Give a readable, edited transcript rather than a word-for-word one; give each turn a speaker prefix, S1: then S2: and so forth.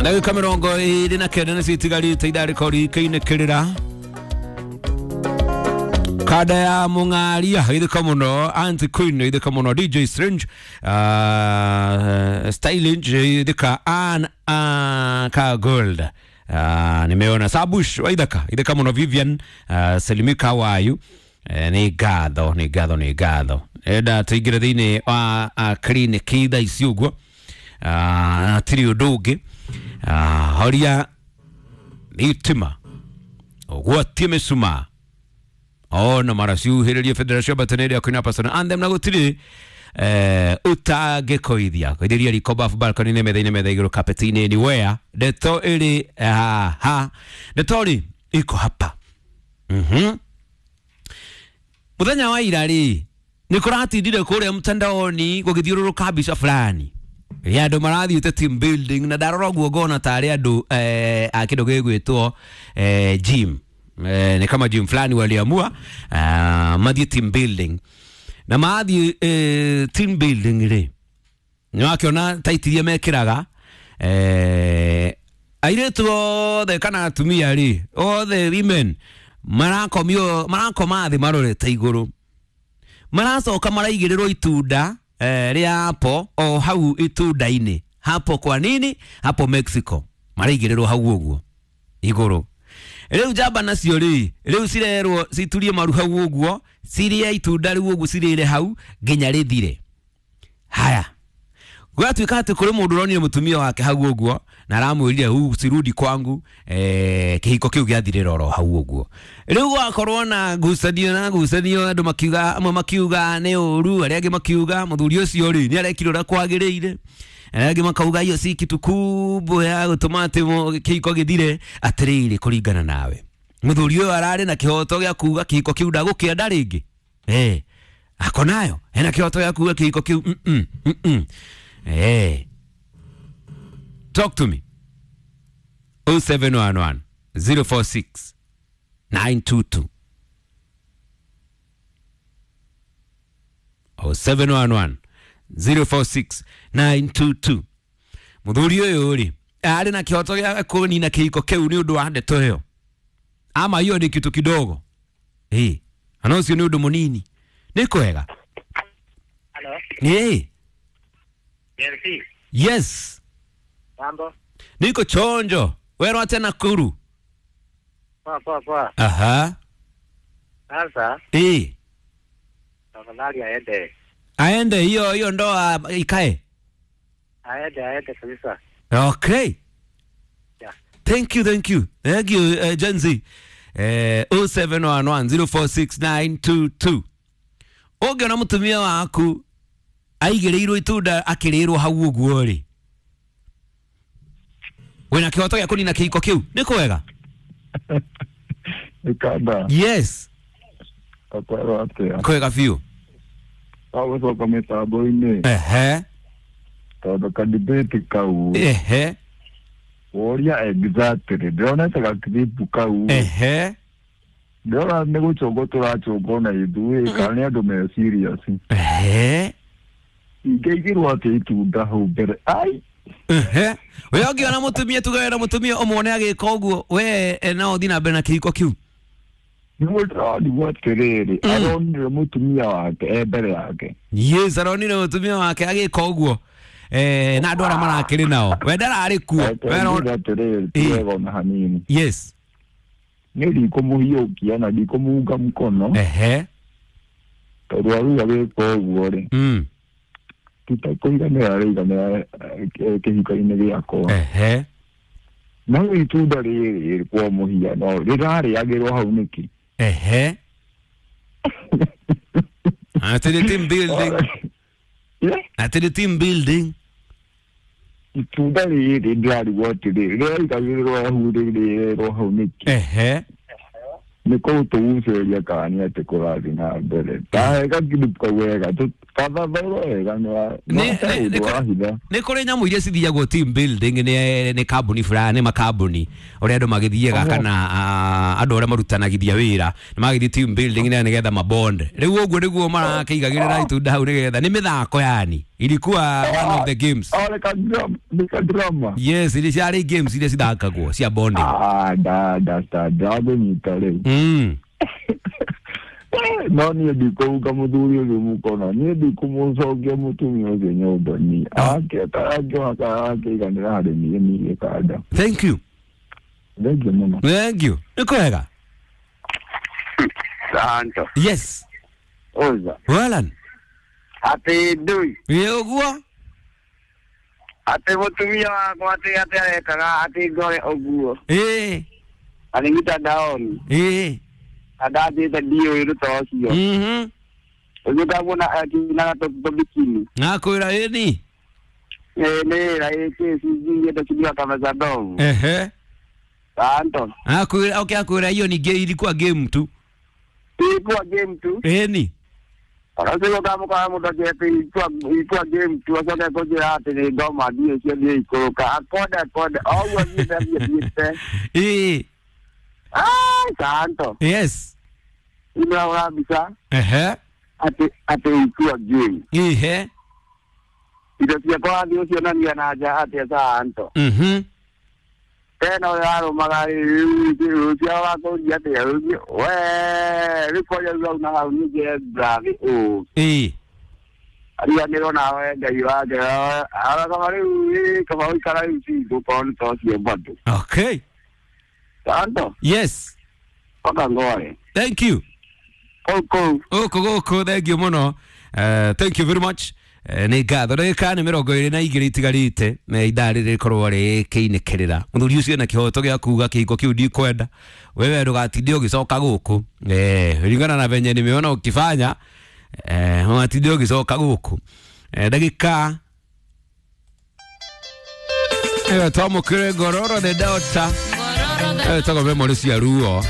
S1: Ndagĩka 29 nĩcio itigarĩte ithaa rĩkorwo rĩkĩinĩkĩrĩra kada ya mũng'aria ithĩka mũno Auntie Queen ithĩka mũno DJ Strange Styling ithĩka Ann ka Gold nimeona Sabush waithaka ithĩka mũno Vivian Selimika Wayu nĩ ngatho nĩ ngatho nĩ ngatho enda tũingĩre thĩinĩ wa clinic thaa ici ũguo tirĩ ũndũ ũngĩ horia thitima ũgwatie mĩcumaa ona mara ciuhĩrĩrie Federation Bataneri ya kuina pasona anthem na gũtirĩ ũtangĩkoithia koithĩria riko bafu balcony-inĩ metha-inĩ metha igũrũ carpet-inĩ anywhere ndeto ĩrĩ haha ndeto rĩ iko hapa muthenya wa ira rĩ nĩ kũratindire kũrĩa mtandaoni gũgĩthiũrũrũka mbica fulani ya andũ marathiĩte team building na ndarora ũguo ngona tarĩ andũ a kĩndũ gĩgwĩtwo gym ni kama gym fulani waliamua mathiĩ team building na mathiĩ team building rĩ nĩwakĩona taiti iria mekĩraga airĩtu othe kana atumia rĩ othe women marakomio marakoma thĩ marorete igũrũ maracoka maraigĩrĩrwo itunda rĩa apple o hau itunda-inĩ hapo kwa nini hapo Mexico maraigĩrĩrwo hau ũguo igũrũ rĩu njamba nacio rĩ rĩu cirerwo citurie maru hau ũguo cirĩe itunda rĩu ũguo cirĩre hau nginya rĩthire haya gwatuĩka atĩ kũrĩ mũndũ ũronire mũtumia wake hau ũguo na aramwĩrire huu sirudi kwangu kĩhiko kĩu gĩathirĩra oro hau ũguo rĩu gwakorwo na ngucanio na ngucanio andũ makiuga amwe makiuga nĩ ũru arĩa angĩ makiuga mũthuri ũcio rĩ nĩ arekire ũrĩa kwagĩrĩire arĩa angĩ makauga hiyo si kitu kubwa ya gũtũma atĩ kĩhiko gĩthire atĩrĩrĩ kũringana nawe mũthuri ũyũ ararĩ na kĩhoto gĩa kuga kĩhiko kĩu ndagũkĩenda rĩngĩ ako nayo ena kĩhoto gĩa kuga kĩhiko kĩu Talk to me. 0711 046 922. 0711 046 922. Muthuri ũyũ rĩ arĩ na kĩhoto gĩa kũnina kĩhiko kĩu nĩ ũndũ wa ndeto ĩyo ama hiyo ni kitu kidogo ana ũcio nĩ ũndũ mũnini nĩ kwega.
S2: Hello.
S1: Yes.
S2: Mambo.
S1: Niko chonjo. Wewe acha Nakuru.
S2: Poa poa poa.
S1: Aha.
S2: Sasa. Tafadhali aende.
S1: Aende hiyo hiyo ndoa ikae.
S2: Aende kabisa.
S1: Okay.
S2: Yeah.
S1: Thank you, thank you. Thank you Gen Z. 0711046922. Ũngĩona mũtumia waku aigĩrĩirwo itunda akĩrĩrwo hau ũguo rĩ wĩna kĩhoto gĩa kũnina kĩhiko kĩu nĩ kwega.
S3: Ikanda.
S1: Yes.
S3: Akwero atĩa?
S1: Kwega biũ.
S3: Agũcoka mĩtambo-inĩ.
S1: Ehe.
S3: Tondũ kadibĩti kau.
S1: Ehe.
S3: Woria exactly ndĩronete gakiripu kau.
S1: Ehe.
S3: Ndĩrona nĩ gũcũngwo tũracũngwo na ithuĩ kana nĩ andũ me serious.
S1: Ehe.
S3: Ingĩigĩrwo atĩ itunda hau mbere ai.
S1: Ehe. We ũngĩona mũtumia tuge wena mũtumia ũmwone agĩka ũguo we no ũthiĩ na mbere na kĩhiko kĩu.
S3: Nĩguo ndĩronigwo atĩrĩrĩ aronire mũtumia wake e mbere yake.
S1: Yes, aronire mũtumia wake agĩka ũguo na andũ arĩa marakĩrĩ nao we ndararĩ kuo.
S3: Atĩrĩrĩ ti wega ona hanini.
S1: Yes.
S3: Nĩ ndikũmũhiũkia na ndikũmuunga mkono.
S1: Ehe.
S3: Tondũ aruga gwĩka ũguo rĩ tũtakũiganĩra araiganĩra kĩhiko-inĩ gĩakwa.
S1: Ehe.
S3: No itunda rĩrĩ kwa mũhiano rĩrarĩagĩrwo hau nĩkĩ?
S1: Ehe. Atĩ nĩ team building. Atĩ nĩ team building.
S3: Itunda rĩrĩ ndĩrarigwo atĩrĩrĩ rĩraigagĩrĩrwo hau rĩrĩrwo hau nĩkĩ?
S1: Ehe.
S3: Nĩ kũtũgucĩrĩria kana nĩ atĩ kũrathiĩ na mbere tahe gakiripu kau wega kathathaũrwo wega nĩ ũndũ wa hitha.
S1: Nĩ kũrĩ nyamũ iria cithiagwo team building nĩ kambuni fulani, nĩ makambuni ũrĩa andũ magĩthiaga kana andũ arĩa marutanagithia wĩra nĩ magĩthiĩ team building nĩ nĩgetha mabond. Rĩu ũguo nĩguo marakĩigagĩrĩra itunda hau nĩgetha nĩ mĩthako yani ilikuwa one of the games.
S3: Oh, nĩ ka drama.
S1: Yes, iria ciarĩ games iria cithakagwo cia bonding.
S3: Ah, da understand, ndagũnyita rĩu. No niĩ ndikũhuka mũthuri ũcio mũkono, niĩ ndikũmũcokia mũtumia ũcio nyũmba niĩ angĩona kana akĩiganĩra harĩ niĩ niĩ kanda.
S1: Thank you.
S3: Thengiũ mũno.
S1: Thank you, nĩ kwega.
S2: Santo.
S1: Yes.
S2: Oza.
S1: Welan.
S2: Atĩ ndui.
S1: Ĩ ũguo.
S2: Atĩ mũtumia wakwa atĩ arekaga atĩ ngore ũguo.
S1: Ĩ.
S2: Arĩ mitandaoni.
S1: Ĩ.
S2: Andanjĩte ndiũĩ rũta ũcio. Ũguo ndamuona akinaga tũbikini.
S1: Nakwĩra ĩni.
S2: Ĩ nĩ wĩra ĩ kĩcinjiĩte cidiwa kamacadovu.
S1: Ehe.
S2: Santo.
S1: Akwĩra okay, akwĩra hiyo ni game, ilikuwa game tu.
S2: Ilikuwa game tu.
S1: Ĩni.
S2: Ona ũcio ũkamũkora mũndũ akĩte ilikuwa game tu acoke kũnjĩra atĩ nĩ ngoma ndiũ cio thiĩ ikũrũka akonde akonde o ũguo thiĩte thiĩte.
S1: Ĩ.
S2: Ai, Santo.
S1: Yes.
S2: Nĩndĩrahũra mbica
S1: Ehe.
S2: atĩ ilikuwa game.
S1: Ihe.
S2: Indo ciakwa wathiĩ ũcionania na nja atĩa Santo. Tena ũrĩa warũmaga rĩu rũciaro wakũria atĩa rũciũ we rĩu kwaria rĩu hau na hau ningĩ brathi ũũ.
S1: Ĩ.
S2: Ariganĩrwo nawe Ngai wake ara kaba rĩu ĩ, kaba ũikara rĩu cingũ korwo nĩ ta ũcio bado.
S1: Okay.
S2: Santo.
S1: Yes.
S2: Paka ngore.
S1: Thank you.
S2: Kũu kũu.
S1: Gũkũ gũkũ, thank you mũno. Thank you very much. Nĩ ngatho ndagĩka nĩ 22 itigarĩte na ithaa rĩrĩ rĩkorwo rĩkĩinĩkĩrĩra mũthuri ũcio na kĩhoto gĩa kuga kĩhiko kĩu ndikwenda wewe ndũgatinde ũgĩcoka gũkũ ringana na venye nimeona ukifanya ũgatinde ũgĩcoka gũkũ ndagĩka ĩyo twamũkĩre ngororo the daughter ĩyo ĩtagwo memory cia ruo.